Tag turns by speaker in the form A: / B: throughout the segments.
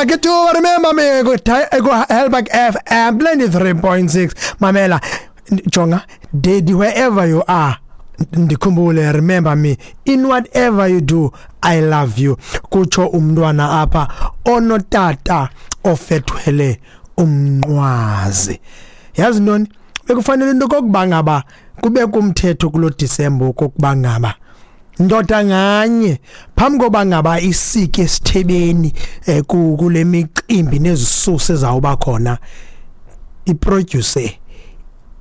A: Lucky Dube, remember me ku Helberg FM 93.6. Mamela, jonga daddy, wherever you are, ndikhumbule, remember me in whatever you do, I love you. Kutsho umntwana apha onotata ofethwele umnqwazi. Yazi ntoni, bekufanele into kokuba ngaba kube kumthetho kulo December okokuba ngaba ndoda nganye phambi koba ngaba isike esithebeni kule micimbi nezisusa ezawuba khona, iproduce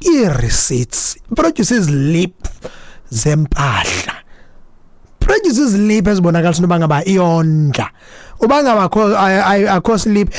A: ii-receipts, iproduce izilip zempahla, produce izilip ezibonakalisa into yoba ngaba iyondla. Uba ngaba akho slip,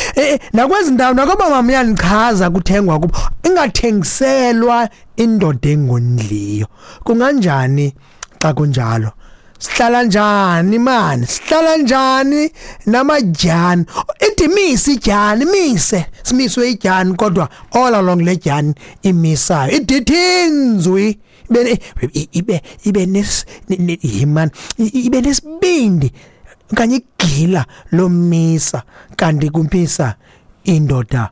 A: nakwezi ndawo nakoba mama uyanichaza kuthengwa kubo, ingathengiselwa indoda engondliyo. Kunganjani xa kunjalo? Sihlala njani mani? Sihlala njani namadyani? Ithi mise idyani, mise simiswe idyani, kodwa all along le dyani imisayo idithinzwi ibe ibe ibe nes yimani, ibe nesibindi okanye igila lomisa, kanti kumpisa indoda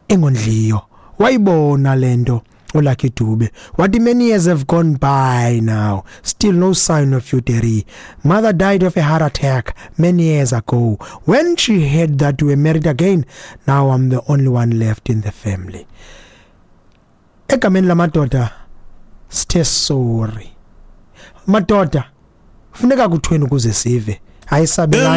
A: engondliyo. Wayibona lento uLucky Dube, wathi, "Many years have gone by now, still no sign of you, Terry. Mother died of a heart attack many years ago when she heard that you were married again. Now I'm the only one left in the family." Egameni lamadoda sithe sorry madoda. Funeka kuthweni ukuze sive? Ayisabelani.